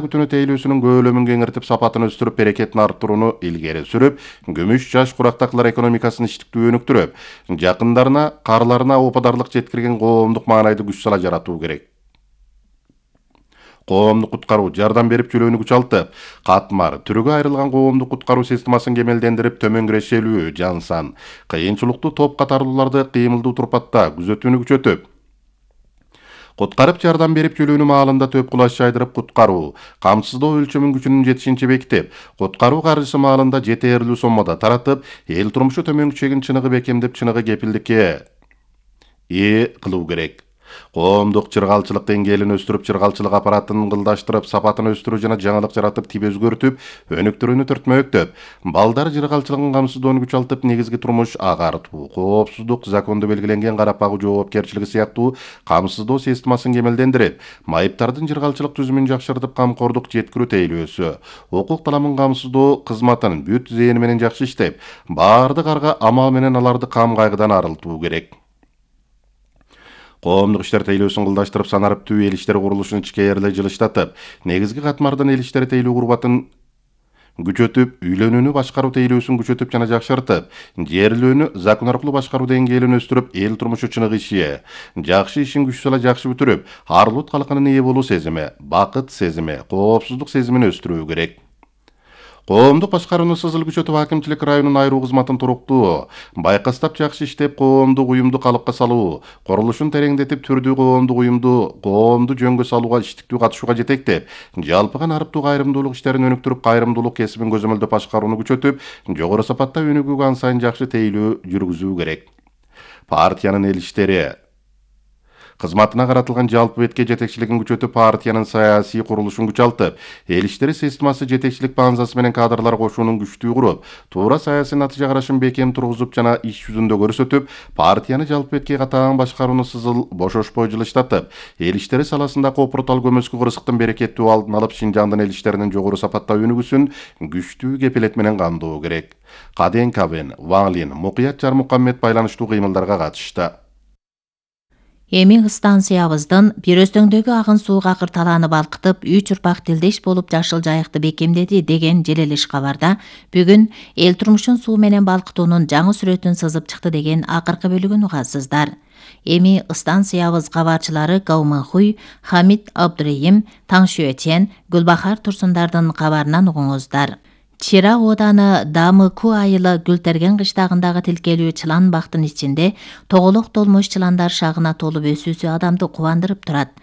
күтүнө тейлөөсүнүн көөлөмүн кеңиртип, сапатын өстүрүп, берекетин арттырууну илгери сүрүп, күмүш жаш курактакылар экономикасын иштиктүү өнүктүрүп, жакындарына, карларына опадарлык жеткирген коомдук маанайды күч сала жаратуу керек. Коомдук куткаруу жардам берип чөлөөнү күчалтып, катмар, түрүгө айрылган коомдук куткаруу системасын кемелдендирип, төмөн кирешелүү, жансан, кыйынчылыктуу топ катарлууларды кыймылдуу турпатта күзөтүүнү күчөтүп, куткарып жардам берип чөлөөнү маалында төп кулаш жайдырып куткаруу, камсыздоо өлчөмүн күчүнүн жетишинче бекитип, куткаруу каржысы маалында жетээрлүү соммада таратып, эл турмушу төмөн күчөгүн чыныгы бекемдеп, чыныгы кепилдикке ээ кылуу керек. Коомдук чыргалчылык деңгээлин өстүрүп, чыргалчылык аппаратын ыңгылдаштырып, сапатын өстүрүү жана жаңылык жаратып, тип өзгөртүп, өнүктүрүүнү төртмөктөп, балдар чыргалчылыгын камсыздоону күчалтып, негизги турмуш агартуу, коопсуздук, закондо белгиленген карап-багуу жоопкерчилиги сыяктуу камсыздоо системасын кемелдендирип, майыптардын чыргалчылык түзүмүн жакшыртып, камкордук жеткирүү тейлөөсү, укук таламын камсыздоо кызматын бүт зээни менен жакшы иштеп, баардык арга амал менен аларды кам кайгыдан арылтуу керек. Коомдук иштер тейлөөсүн кылдаштырып, санариптүү эл иштери курулушун ичкээрлей жылыштатып, негизги катмардын эл иштери тейлөө курбатын күчөтүп, үйлөнүүнү башкаруу тейлөөсүн күчөтүп жана жакшыртып, жерлөөнү закон аркылуу башкаруу деңгээлин өстүрүп, эл турмушу чыныгы иши, жакшы ишин күч сала жакшы бүтүрүп, ар-улут калкынын ээ болуу сезими, бакыт сезими, коопсуздук сезимин өстүрүү керек. Коомдук башкарууну сызыл күчөтүп, акимчилик районун айруу кызматын туруктуу, байкастап жакшы иштеп, коомдук уюмду калыпка салуу, курулушун тереңдетип, түрдүү коомдук уюмду жөнгө салууга, иштиктүү катышууга жетектеп, жалпыган арыптуу кайрымдуулук иштерин өнүктүрүп, кайрымдуулук кесибин көзөмөлдөп башкарууну күчөтүп, жогору сапатта өнүгүүгө ан сайын жакшы тейлөө жүргүзүү керек. Партиянын эл иштери кызматына каратылган жалпы бетке жетекчилигин күчөтүп, партиянын саясий курулушун күчалтып, эл иштери системасы жетекчилик баанзасы менен кадрлар кошуунун күчтүү куруп, туура саясий натыйжа карашын бекем тургузуп жана иш жүзүндө көрсөтүп, партияны жалпы бетке катаан башкарууну сызыл бошошпой жылыштатып, эл иштери саласындагы опуртал көмөскү кырсыктын берекеттүү алдын алып, Шинжаңдын эл иштеринин жогору сапатта өнүгүүсүн күчтүү кепилет менен камдоо керек. Каден Кабен, Ван Лин, Мукуят Жармукаммет байланыштуу кыймылдарга катышты. Эми станциябыздын бир өзтөңдөгү агын сууга акыр талааны балкытып, 3 урпак тилдеш болуп жашыл жайыкты бекемдеди деген желелиш кабарда бүгүн эл турмушун суу менен балкытуунун жаңы сүрөтүн сызып чыкты деген акыркы бөлүгүн угасыздар. Эми станциябыз кабарчылары Гауманхуй, Хамид Абдурайым, Таңшуэтен, Гүлбахар Турсундардын кабарынан угуңуздар. Чира ооданы Дамыку айылы Гүлтерген кыштагындагы тилкелүү чылан бактын ичинде тоголок толмош чыландар шагына толуп өсүүсү адамды кубандырып турат.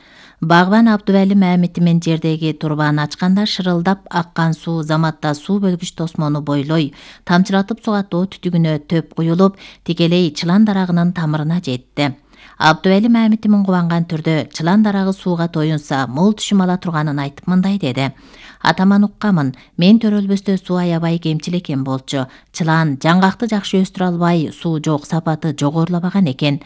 Багбан Абдывали Мамити мен жердеги турбаны ачканда шырылдап аккан суу заматта суу бөлгүч тосмону бойлой, тамчыратып сугаттоо түтүгүнө төп куюлуп, тикелей чылан дарагынын тамырына жетти. Абдывали Мамитимин кубанган түрдө чылан дарагы сууга тоюнса мол түшүм ала турганын айтып мындай деди. Атаман уккамын, мен төрөлбөстө суу аябай кемчил экен болчу. Чылан жаңгакты жакшы өстүрө албай, суу жок, сапаты жогорулабаган экен.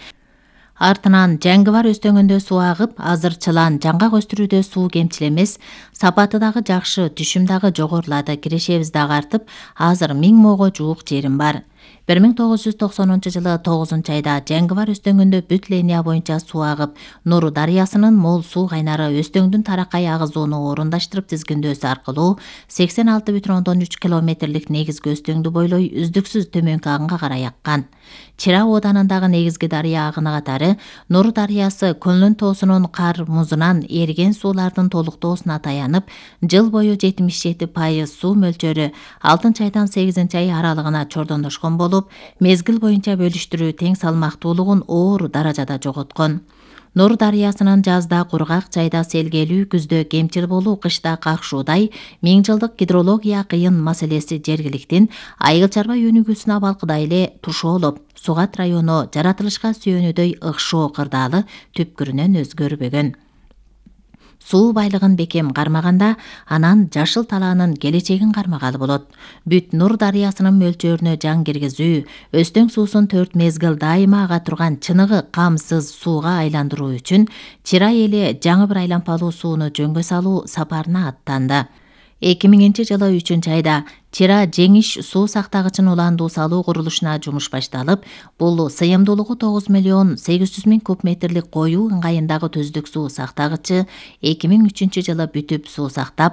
Артынан жаңгы бар өстөңүндө суу агып, азыр чылан жаңгак өстүрүүдө суу кемчил эмес, сапаты дагы жакшы, түшүм дагы жогорулады, кирешебиз дагы артып, азыр 1000 моого жуук жерим бар. 1990 жылы 9-айда жаңгы бар өстөңүндө бүт линия боюнча суу агып, Нуру дарыясынын мол суу кайнары өстөңдүн таракай агызууну орундаштырып тизгиндөөсү аркылуу 86,3 километрлик негизги өстөңдү бойлой үздүксүз төмөнкү агынга карай аккан. Чира ооданындагы негизги дарыя агыны катары Нуру дарыясы Көлнөн тоосунун кар музунан эриген суулардын толуктоосуна таянып, жыл бою 77% суу мөлчөрү 6-айдан 8-ай аралыгына чордондошкон болуп, мезгил боюнча бөлүштүрүү тең салмактуулугун оор даражада жоготкон. Нур дарыясынын жазда кургак, жайда селгелүү, күздө кемчил болуу, кышта какшуудай 1000 жылдык гидрология кыйын маселеси жергиликтин айыл чарба өнүгүүсүнө балкыдай эле тушоолуп, Сугат району жаратылышка сүйөнүүдөй ыкшоо кырдаалы түпкүрүнөн өзгөрбөгөн. Суу байлыгын бекем кармаганда, анан жашыл талаанын келечегин кармагалы болот. Бүт Нур дарыясынын мөлчөрүнө жан киргизүү, өстөң суусун 4 мезгил дайыма ага турган чыныгы камсыз сууга айландыруу үчүн Чира эли жаңы бир айланпалуу сууну жөнгө салуу сапарына аттанды. 2000-жылы 3-айда Чира жеңиш суу сактагычын уландуу салуу курулушуна жумуш башталып, бул сыйымдуулугу 9,800,000 куб метрлик коюу ыңгайындагы төздүк суу сактагычы 2003-жылы бүтүп суу сактап,